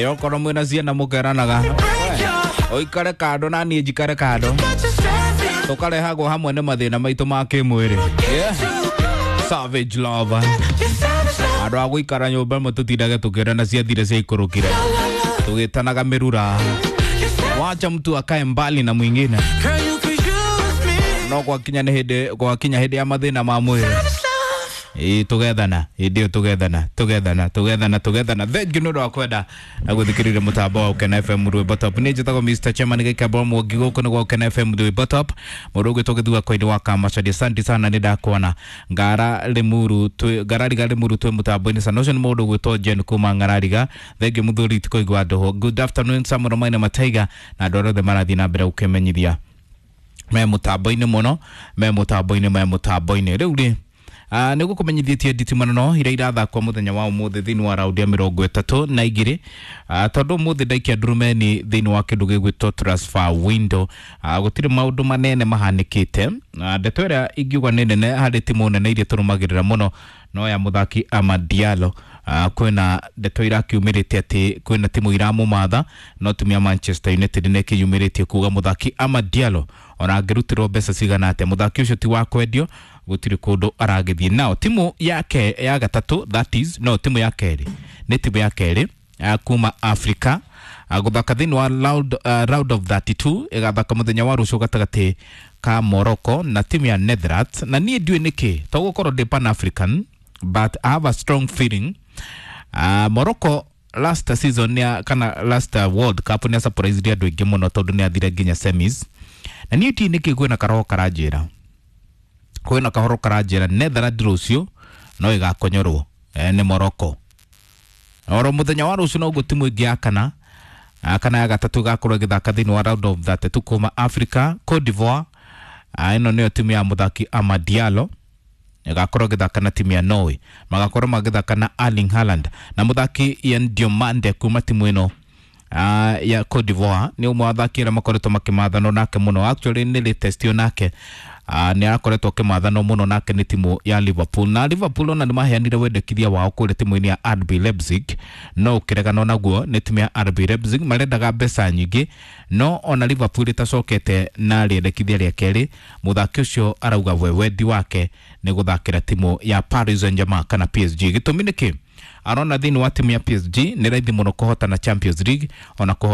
Okorwo mwĩna ciana mũkeranaga ũikare kando na niĩ njikare kando, tũkarehagwo hamwe nĩ mathĩna maitũ ma kĩmwĩrĩ. Yeah. Savage love, andũ a gũikara nyũmba ĩmwe tũtindage tũkĩrana ciathire ciaikũrũkire tũgĩtanaga mĩrura. Wacha mtu akae mbali na mwingine, no gwakinya nĩ hĩndĩ, gwakinya hĩndĩ ya mathĩna ma mwĩrĩ, ĩĩ, tũgethana hĩndĩ ĩyo, tũgethana, tũgethana, tũgethana, tũgethana. Thank you nĩ ũndũ wa kwenda na gũthikĩrĩria mũtambo wa Ũkena FM Rwĩmbo Top. Niĩ njĩtagwo Mr Chairman Gĩkembo Mwangi, gũkũ nĩ gwa Ũkena FM Rwĩmbo Top. Mũndũ ũgwĩtwo Gĩthua Koini wa Kamacaria, asante sana, nĩ ndakuona. Ngara Limuru twĩ Ngarariga Limuru twĩ mũtambo-inĩ sana. Ũcio nĩ mũndũ ũgwĩtwo Jen kuma Ngarariga. Thank you mũthuri, tikoigua ndũhũ. Good afternoon Samuel Maina Mataiga na andũ arĩa othe marathiĩ na mbere gũkĩmenyithia me mũtambo-inĩ mũno, me mũtambo-inĩ, me mũtambo-inĩ. Rĩu rĩ, nä gå kå menyithĩtie nditimano iria irathakwo mũthenya wa ũmũthĩ thĩinĩ wa raundi ya 32, tondũ ũmũthĩ ndaikia ndurumeni thĩinĩ wa kĩndũ gĩgwĩtwo transfer window. Gũtirĩ maũndũ manene mahanĩkĩte. Ndeto ĩrĩa ingiuga nĩ nene harĩ timu nene iria tũrũmagĩrĩra mũno no ya mũthaki Amad Diallo. Kwĩna ndeto irakiumĩrĩte atĩ kwĩna timu iramũmatha, no timu ya Manchester United nĩ ĩkĩyumĩrĩtie kuga mũthaki Amad Diallo ona angĩrutĩrwo mbeca cigana atĩa, mũthaki ũcio ti wa kwendio, gũtirĩ kũndũ aragĩthiĩ. Nao timu yake ya gatatũ, that is, no timu ya kerĩ, nĩ timu ya kerĩ kuma Africa gũthaka thĩinĩ wa round of 32, ĩgathaka mũthenya wa rũciũ gatagatĩ ka Morocco na timu ya Netherlands. Na niĩ ndiũĩ nĩkĩ, to gũkorwo ndĩ pan African, but I have a strong feeling Morocco last season nĩa, kana last World Cup nĩ surprise andũ aingĩ mũno tondũ nĩ athire nginya semis. Na niĩ ndiũĩ nĩkĩ kwĩna karoho karanjĩra, kwĩna kahoro karanjĩra Netherlands rũciũ no ĩgakonyorwo nĩ Morocco. Oro mũthenya wa rũciũ noguo timu ĩngĩ ya kana, kana ya gatatũ ĩgakorwo ĩgĩthaka thĩinĩ wa round of 32 kuma Africa, Cote d'Ivoire. Ĩno nĩyo timu ya mũthaki Amad Diallo, ĩgakorwo ĩgĩthaka na timu ya Norway. Magakorwo magĩthaka na Erling Haaland na mũthaki Ian Diomande kuma timu ĩno ya Cote d'Ivoire. Nĩ ũmwe wa athaki arĩa makoretwo makĩmathanwo nake mũno. Actually nĩ latest yo nake nĩ arakoretwo akĩmathanwo mũno nake nĩ timu ya Liverpool, na Liverpool ona nĩ maheanire wendekithia wao kũrĩa timu-inĩ ya RB Leipzig, no ũkĩreganwo naguo nĩ timu ya RB Leipzig. Marendaga mbeca nyingĩ, no ona Liverpool ĩtacokete na rĩendekithia rĩa kerĩ, mũthaki ũcio arauga we wendi wake nĩ gũthakĩra timu ya Paris Saint-Germain kana PSG. Gĩtũmi nĩ kĩ? Arona thĩinĩ wa timu ya PSG nĩ raithi mũno kũhotana Champions League ona kũhotana